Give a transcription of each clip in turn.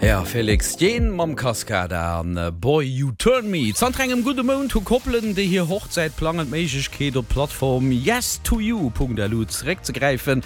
Ja, Felix Jaehn mam Cascada an Boy You Turn Me. Zanter engem gudde Mount hu Koppelen, déi hir Hochzäit plangen, d'Méiglechkeet op d'Plattform yes2you.lu zeréckzegräifen,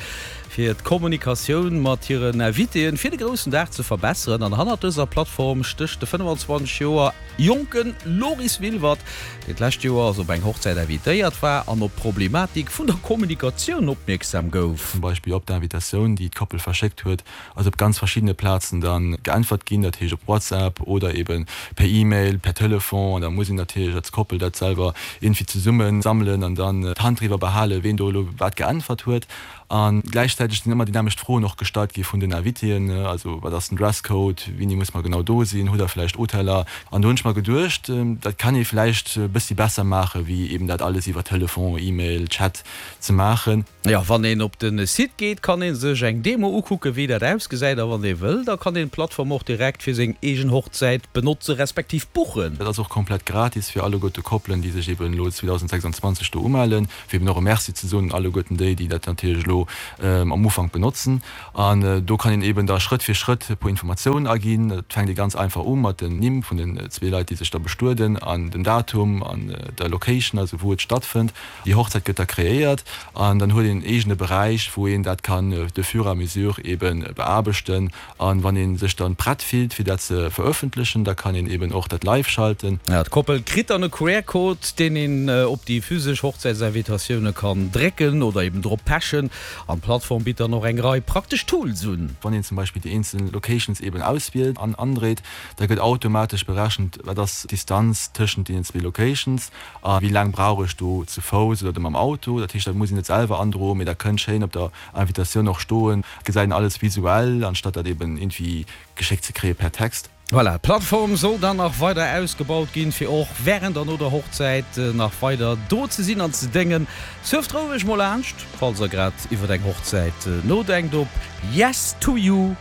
fir d'Kommunikatioun mat hiren Invitéen fir de groussen Dag ze verbesseren. An hannert dëser Plattform stécht de 25 Joer jonke Loris Wilwert, deen d'lescht Joer op eng Hochzäit invitéiert war an op d'Problematik vun der Kommunikatioun opmierksam gouf. Zum Beispill op d'Invitatioun, déi d'Koppel verschéckt huet, ass op ganz verschiddene Plazen da geäntwert ginn, dat heescht op WhatsApp oder eben per E-Mail, per Telefon. An da muss een natierlech als Koppel dat selwer iergendwéi zesumme sammelen an dann d'Hand driwwer behalen, ween do elo wat geäntwert huet. A gläichzäiteg sinn ëmmer déi nämmlecht Froen och gestallt gi vun den Invitéen, also wat ass den Dresscode, wéini muss mer genau do sinn, hutt der vläicht Hoteller? An do hunn ech mer geduecht, dat kann ee vläicht e bëssi besser maachen, wéi eben dat alles iwwer Telefon, E-Mail, Chat ze maachen. Jo, wann een op de Site geet, kann een sech eng Demo ukucken, wéi dat ausgesäit. A wann ee wëll, da kann een d'Plattform och direkt fir seng eegen Hochzäit benotze respektiv buchen. Dat ass och komplett gratis fir alleguerte Koppelen, déi sech eben elo 2026 do umellen, fir eben och e Merci ze soen un alleguerten déi, déi dat natierlech elo am Ufank benotzen. An do kann een eben da Schrëtt fir Schrëtt e puer Informatiounen aginn. Dat fänkt ee ganz einfach u mat den Nimm vun den zwee Leit, déi sech da bestueden, an den Datum an der Location, also wou et stattfënnt. Déi Hochzäit gëtt da kreéiert an dann huet een en eegene Beräich, wou een dat kann de fur et à mesure eebe beaarbechten. An wann ee sech dann prett fillt, fir dat ze verëffentlechen, da kann een eeben och dat live schalten. D'Koppel kritt dann e QR-Code, deen een op déi physesch Hochzäitsinvitatioune kann drécken oder eeben drop pechen. An d'Plattform bitt dann och eng Rei praktesch Tools un. Wann een zum Beispill déi eenzel Locations eeben auswielt an andréit, da gëtt automatesch berechent, wat ass d'Distanz tëschent deenen zwee Locations. A wéi laang brauch ech do zu Fouss oder mam Auto? Dat heescht, dat muss een net selwer androen, mee dat kënnt schéin op der Invitatioun och stoen. Et gesäit een alles visuell, anstatt dat eben iergendwéi geschéckt ze kréie per Text. Voilà, d'Plattform soll dann nach weider ausgebaut ginn, fir och wärend an no der Hochzäit nach weider do ze sinn an ze déngen. Surft roueg mol laanscht, falls der grad iwwert eng Hochzäit nodenkt, op yes2you.lu.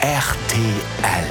Rtl.